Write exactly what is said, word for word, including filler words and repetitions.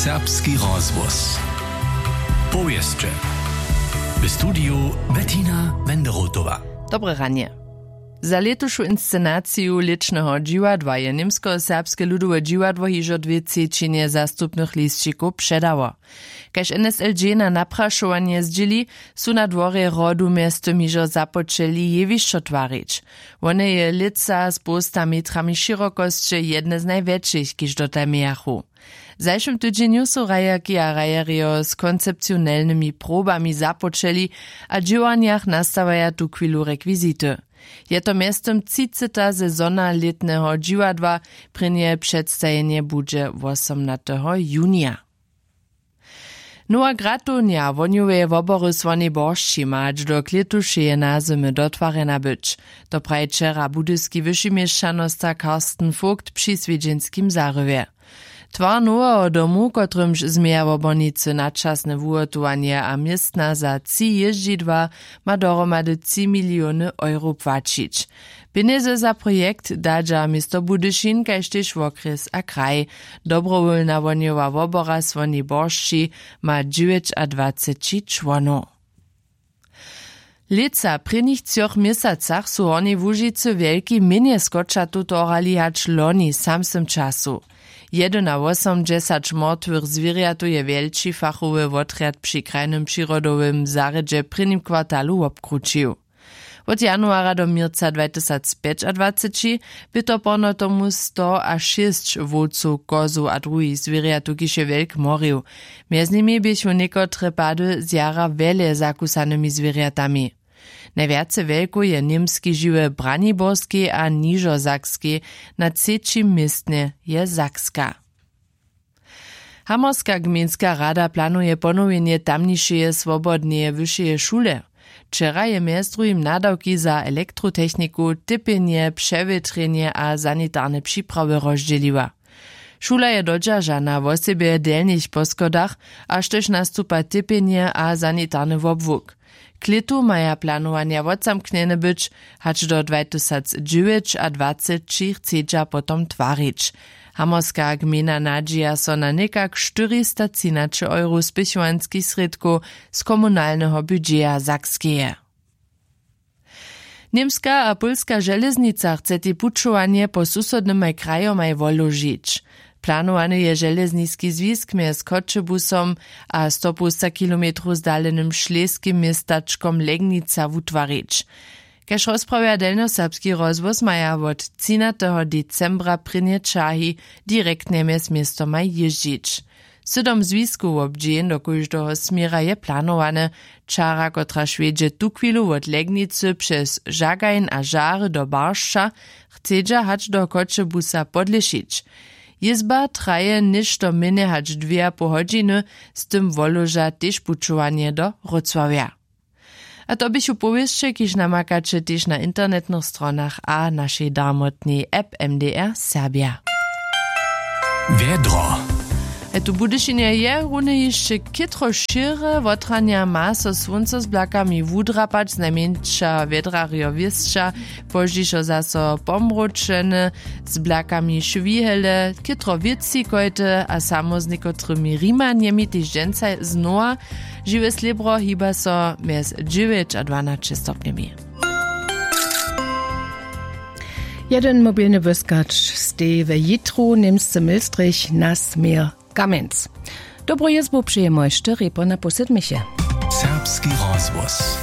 Serbski rozhłos. Powěsće. W studiju Bettina Wenderotowa. Dobre ranje. Za lětušu inscenaciju lěćneho dźiwadła je němskoserbske ludowe dźiwadło hižo dwě třećinje zastupnych lisćikow předało. Kaž N S L G na naprašowanje zdźěli, su na dworje hrodu mjeztym hižo započeli jewišćo twarić. Wone je lětsa z połsta metrami šěrokosće jedne z najwjetšich, kiž dotal mějachu. W zašłym tydźenju su hrajerki a hrajerjo z koncepcionelnymi probami započeli a w dźěłarnjach nastawaja tuchwilu rekwizity. Je to mjeztym třiceha sezona lětneho dźiwadła. Prěnje předstajenje budźe wosomnateho junija. Nowa gratownja wohnjoweje wobory słonej boršći ma hač do klětušeje nazymy dotwarjena być. To praji wčera budyski wyšiměšćanosta Karsten Vogt při swjedźenskim zarywje. Twar noweho domu, kotrymž změja wobornicy načasne wuhotowanje a městna za tři jězdźidła, ma dohromady tři miliony euro płaćić. Pjenjezy za projekt dadźa město budyšin kaž tež wokrjes a kraj. Dobrowólna wohnjowa wobora słoni boršći ma dźewjećadwaceći čłonow. Lětsa w prěnich třoch měsacach su w hornjej łužicy wjelki mjenje skočatow torhali hač loni w samsnym času. Jedynawosomdźesać mortwych zwěrjatow je wjelči fachowy wotrjad při krajnym přirodowym zarjedźe w prěnim kwartalu wobkrućił. Wot januara do měrca dwajtysacpjećadwaceći bě to porno tomu sto a šěsć wowcow, kozow a druhich zwěrjatow kiž je wjelk morił. Mjez nimi běchu někotre pady z jara wjele zakusanymi zwěrjatami. Najwjace wjelkow je němskej žiwy w braniborskej a nižosakskej. Na třećim městnje je sakska. Hamorska gmejnska rada planuje ponowjenje tamnišeje swobodneje wyšeje šule. Wčera je mjez druhim nadawki za elektrotechniku, typjenje, přewětrjenje a sanitarne připrawy rozdźěliła. Šula je dodźeržana wosebje w delnich poschodach, a štož nastupa typjenje a sanitarny wobłuk. K lětu maja planowanja wotzamknjene być, hač do dwajtysacdźewjećadwaceći chcedźa potom twarić. Hamorska gmejna nadźija so na někak štyristacinaće euro spěchowanskich srědkow z komunalneho budźeja sakskeje. Němska a pólska železnica chce tej pućowanje po susodnymaj krajomaj woložić. Planowany je železniski zwisk mjez choćebusom a stopołsta kilometrow zdalenym šlejskim městačkom legnica wutwarić. Kaž rozprawja delnjoserbski rozhłos maja wot třinateho decembra prěnje ćahi direktnje mjez městomaj jězdźić. Sydom zwisku wobdźěń do kóždeho směra je planowane. Čara kotraž wjedźe tuchwilu wot legnicy přez žagajn a žary do baršća, chcedźa hač do choćebusa podlěšić. Jězba traje něšto mjenje hač dwě a poł hodźiny. Z tym woloža tež pućowanje do wrócławja. A to běchu powěsće kiž namakaće tež na internetnych stronach a našej darmotnej app mdr serbja. Wjedro. A tu w budyšinje je runje hišće chětro šěre wotranja ma so słónco z blakami wudrapać znajmjeńša wjedrarjo wěsća. Pozdźišo zaso pomróčeny z blakami šwihele chětro wětřikojty a samo z někotrymi rimanjemi tež dźensa znowa. Žiwe slěbro hiba so mjez dźewjeć a dwanaće stopnjemi. Jeden mobilny wyskać stej we jitru němsce milstrich na směr kamenc. Dobru jězbu přejemoj štyri po na pół sydmiche. Serbski rozhłos.